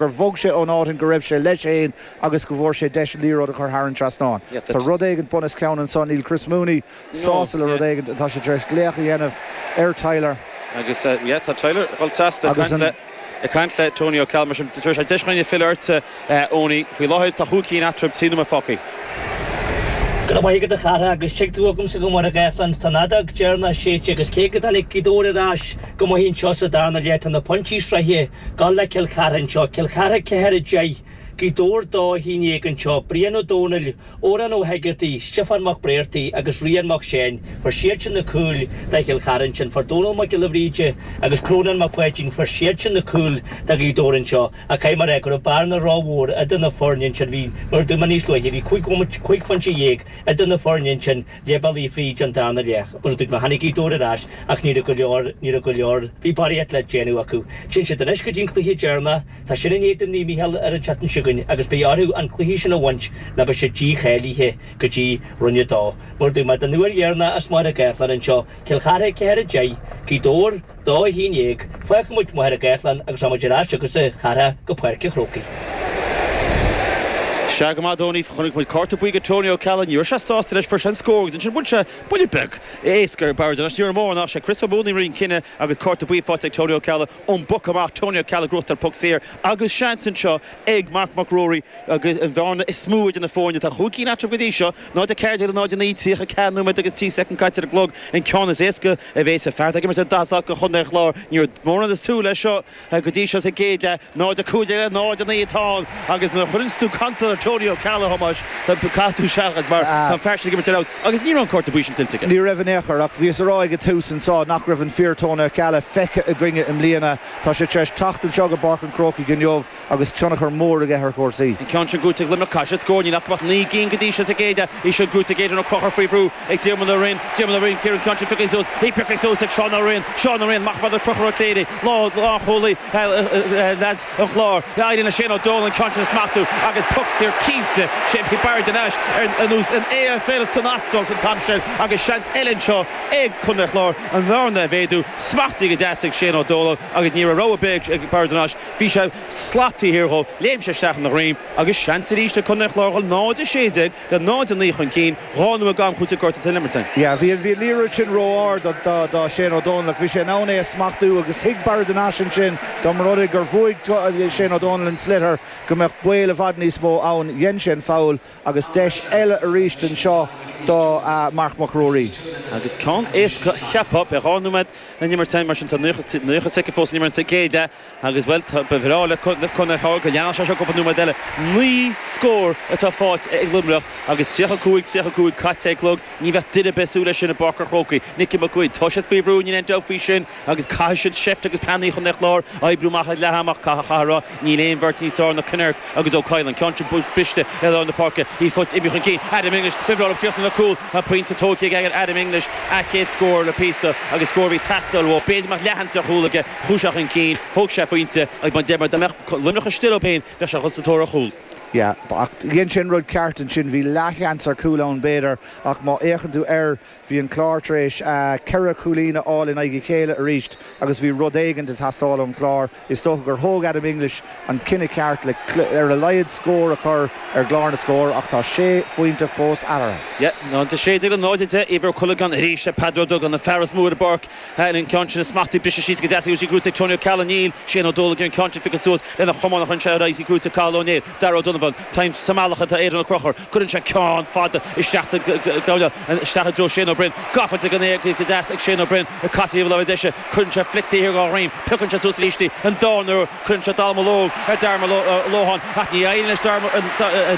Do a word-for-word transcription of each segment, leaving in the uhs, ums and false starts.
gur bhog sé ón áit go raibh sé leis féin agus go bhfuair sé deis liathróid a chur thar an trasnán. Tá rud éigin bunoscionn ansan níl Chris Mooney sásta le rud éigin tá sé tar éis glaoch a dhéanamh ar Tyler. Agus uh, tá Tyler chomh sásta ag caint le Tony O'Callaghan mar sin sé deis chuine filleadh Eoin faoi láthair tá chúig cinn eatarthu trí nóiméad fágtha. Go maith go chara agus tuig tú agam sa go mar a Gaelland tá an fheadóg dheireanach séidte agus cé go dtáinig Gaoth Dobhair ar ais go maith anseo sa darna leath tá na pointí sroichte ag le Cill Chartha anseo Cill Chartha ceathair deich Gaoth Dobhair dó haon déag anseo Brian Ó Dónaill Óran Ó Hegarty Stiofán Mac Bréartaí agus Rian Mac Séin fuair siad sin na cúil do Chill Chartha sin fuair Dónal Mac Giolla Bhríde agus Crónan Mac Pháidín fuair siad sin na cúil do Ghaoth Dobhair anseo a cai mar é go raibh bearna rómhór idir na foirne sin bhí mar dúma níos luaithe bhí cúig phointe dhéag idir na foirne sin leath bealaigh fríd an darna leath mar dúirt mé tháinig Gaoth Dobhair ar ais ach ní go leor ní go leor bhí barraíocht le déanamh acu. Téann siad anois go dtí an cluiche deireanach tá sin in éadan Naomh Mícheál ar an tseachtain seo chugainn agus beidh orthu an cluiche sin a bhaint le beidh siad dícháilithe go dtí roinn a dó. Mar dúirt mé den uair dheireanach as Machaire Gathlán anseo Cill Chartha ceathair deich Gaoth Dobhair dó haon déag fágfaidh muid Machaire Gathlán agus muid ar ais agus a chara go Páirc an Chrócaigh. Se go maith chonaic muid cárta buí do Tony O'Callaghan ní sé sásta leis fuair sé an scór sin bhain sé buille beag éasca bar an ní mór ná sé Chris Mooney rin cinenne agus cárta buí faighte ag Tony O'Callaghan ón bpoc amach Tony O'Callaghan grútar puc saor agus seans anseo ag Mark McRory agus an bhearna is mó idir na foirne tá chúig cinn eatarthu go dtí seo ná de ceir ná ní tríocha ceathair nóiméad agus trí soicind caite ar an gclog an ceann is éasca a bhéas a fear ag dá go chun chlár ní mór an sú le seo go dtí seo sa gcéad leath ná de cúig ná de naoi atá agus na chuireann tú cantal Tony O'Callaghan Thomas caithfidh tú seachaint mar tá fear sin ag imirt agus ní raibh an cárta buí sin tuillte. Ní raibh an échar ach bhí rá ag tús anseo nach raibh an fíor Tony O'Callaghan feicthe againne i mbliana Tá sé tar éis teacht anseo go Páirc an Chrócaigh inniu agus tionchar mór aige ar chúrsaí. An ceann sin gnóthaithe ag Luimneach caise scór ní nach naoi gcinn go dtí seo sa gcéad leath í seo gnóthaithe ag Aidan Ó Conchúir faoi bhrú ag Diarmuid Ó Rinn Diarmuid Ó Rinn Ciaran ceann sin pioctha suas í pioctha suas ag Seán Ó Rinn Seán Ó Rinn amach fad Conchúr Ó Cléirigh lá lá chúlaí lads an Chláir éiríonn le Shane Ó Dónaill an ceann sin a smachtú agus puc saor cinnte sé bhí Barry Nash ar nós an AFL san Astráil an t-am sin agus seans eile anseo ag Contae an Chláir an bhearna a mhéadú smachtaithe go deas ag Shane Ó Dónaill agus ní raibh rogha ag Barry Nash bhí sé slataí thiar dhó léim sé isteach ina dhroim agus seans arís ag Contae an Chláir dhul náid sé déag le náid naoi chun cinn dhá nóiméad gan chúig gorta den imirt. Ja, bhí bhí liathróid sin ró-ard do do Shane Ó Dónaill bhí sé ná é a smachtú agus thuig Barry Nash sin dá mba rud gur bhuaigh Shane Ó Dónaill an sliotar go mbeadh baol i bhfad níos mó ann dhein sé an foul agus deis eile arís anseo do uh, Mark McRory. Agus ceann éasca cheapfá be dhá nóiméad den imirt mar sin tá nócha soicind fós san imirt sa gcéad leath agus well ba bhreá le Contae go leanfadh sé seo cúpla nóiméad eile naoi scór atá faighte ag Luimneach agus tríocha cúig tríocha cúig caite clog ní bheith duine besú leis sin i bPáirc an Chrócaigh Nicky McQuaid tá siad faoi bhrú ní aon faoi sin agus caithfidh siad seift agus pleananna chun chlár oibriú amach leath amach catha chathrá níl aon bheirt níos fearr ná Kinnerk agus Ó Cailean ceann briste i lár na páirce í fut imi chun cinn Adam English bifrá críochna na cúl a pointe tógtha ag Adam English a chéad scór le píosa agus scór bhí teastáil ó b'fhéidir mar leathanta chúl aige chuaigh sé chun cinn thóg sé pointe ag ban deir Luimneach istigh féin bheadh sé chun sa tóir chúl. Ja, ach dhein sin rud ceart ansin bhí leathsheans ar chúl ann b'fhéidir ach má fhéachann tú air bhí an clár tar éis ceithre chúilín a fháil in aghaidh a chéile arís agus bhí rud éigin ag teastáil ón chlár is dócha gur thóg Adam English an cinneadh ceart le ar a laghad scór a chur ar chlár na scór ach tá sé phointe fós eatarthu. Ja, ná de sé an náide Iver Culligan arís le Peadar Duggan na fear is mó ar an bpáirc an ceann sin smachtaithe brise sí go deas sí gnóthaithe Tony O'Callaghan níl sé ó dul an ceann sin pioctha suas lena chamán chun sé í gnóthaithe Cathal Ó Néill Darragh O'Donovan Time samálacha tá Aidan Ó Conchúir cuireann sé ceann fada isteach isteach i dtreo Shane O'Brien gafa go go deas ag Shane O'Brien ag casadh le deise cuireann sé flic ar dhá réim piocann sé suas arís an dá cuireann sé dallamullóg ar Darmalóhan ach ní éiríonn leis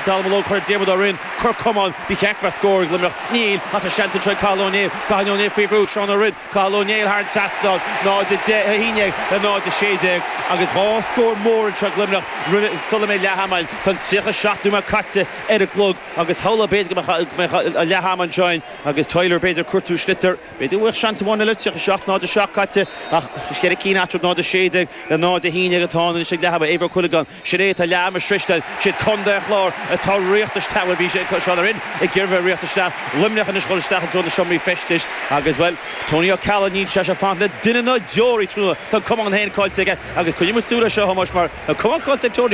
dallamullóg chuir Diarmuid Ó Rinn cur camán bhí cheart scór ag Luimneach níl ach seans anseo Cathal Ó Néill Cathal Ó Néill faoi bhrú Seán Ó Rinn Cathal Ó Néill thar an trasnán náid haon déag le náid sé déag agus dhá scór mór anseo ag Luimneach sula mbeidh leath ama Tá tríocha seacht nóiméad caite ar an gclog agus hála b'fhéidir go mbeidh leath ama anseo agus Tyler b'fhéidir cuartú sliotar b'fhéidir bhfuil seans amháin eile tríocha seacht náid seacht caite ach ceithre cinn eatarthu náid sé déag le náid haon déag atá an ag leath ama Éibhear Culligan sin é tá leath ama sroichte siad Contae an Chláir atá riachtas bhí sé Seán Ó Rinn ag iarraidh rith isteach Luimneach anois dul isteach an na seomraí feistis agus well Tony O'Callaghan níl sé se fan le duine na deoraí trúna Tá camán féin caillte aige agus chuime súla seo mar camán caillte Tony